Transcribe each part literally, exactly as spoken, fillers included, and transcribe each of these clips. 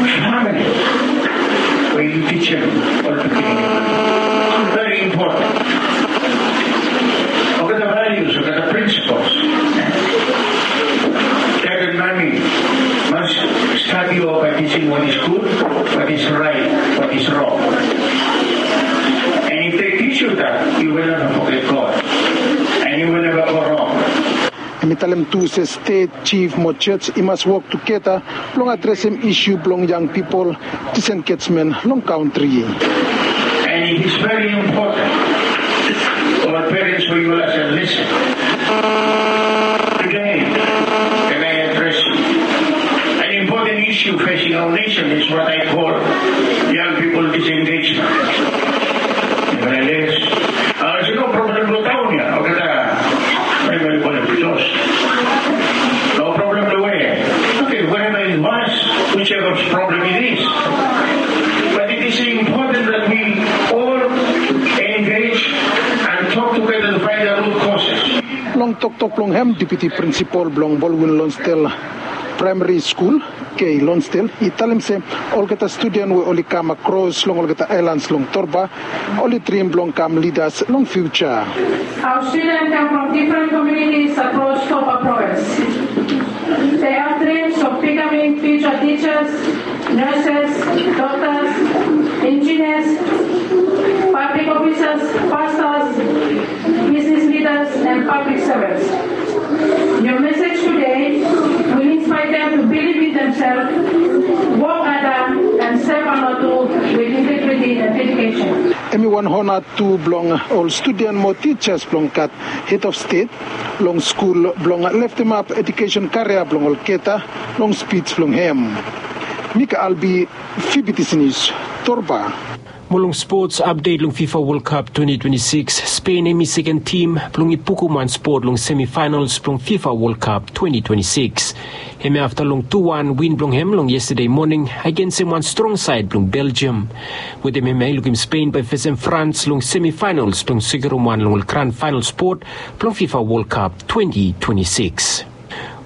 Family, we teach them all to be very important. Olgeta values, olgeta principles. Dad and mommy must start you off by teaching what is good, what is right, what is wrong. And if they teach you that, you will never forget God. And you will never go wrong. Hem i talem tu se stet, jif mo jos i mas wok tugeta blong adresem isu blong yang pipol, disengejmen long kantri. And it is very important for parents for you as a lesson. Today, can I address you? An important issue facing our nation is what I call young people disengagement. Nevertheless, uh, there's no problem with Taunia. Okay, uh, very, very well, because no problem the way. Okay, wherever it was, whichever problem it is. But it is important that we all engage and talk together to find the root causes. Long toktok blong hem, deputi prinsipal blong Baldwin Lonsdale Primary School, Kay Lonsdale, i talem se olgeta studen we oli kam akros long olgeta aelans long Torba oli drim blong kam lidas long fiuja. Our students come from different communities across Torba province. They have dreams of becoming future teachers, nurses, doctors, engineers, public officers, pastors, business leaders, and public servants. Your message today will inspire them to believe in themselves, work harder, and serve Vanuatu with integrity and dedication. Hem i wan hona tu blong ol studen mo tijas blong gat hed of stet long skul blong leftemap ejukesen karia blong olgeta long spij blong hem. Mika Albi, Fibitisi Nius, Torba. Mo long spots apdet long FIFA World Cup twenty twenty-six, Spain hem i seken tim blong i pukum wan spot long semifinals blong FIFA World Cup twenty twenty-six. Hem i afta long tu wan win blong hem long yestade moning agensem wan strong saed blong Belgium. Wetem hem i lukim Spain bae fesem Frans long semifinals blong sekerem wan long ol gran faenal spot blong FIFA World Cup twenty twenty-six.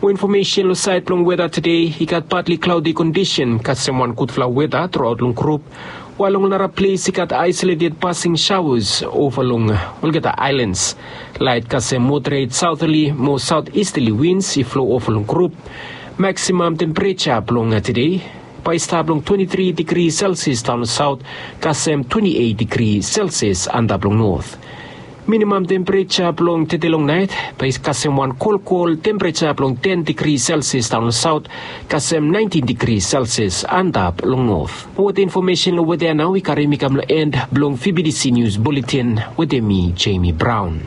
Mo infomesen long saed blong weta tede, i gat patli klaodi kondisen kasem wan gudfala weta truaot long grup, wael long nara ples i gat aesoleted pasing saoas ova long olgeta aelans. Laet kasem moderet saotali mo saotisali wins i flo ova long grup. Maksimam tempereja blong tede bae i stap long twenti tri digri selsias daon long saot kasem twenti eit digri selsias antap long not. Minimam tempereja blong tede long naet bae i kasem wan kolkol tempereja blong ten digri selsias daon long saot kasem naentin digri selsias antap long not. Mo weta infomesen long weta ya nao i karem mi kam long en blong Fibitisi Nius Buletin wetem mi, Jemi Braon.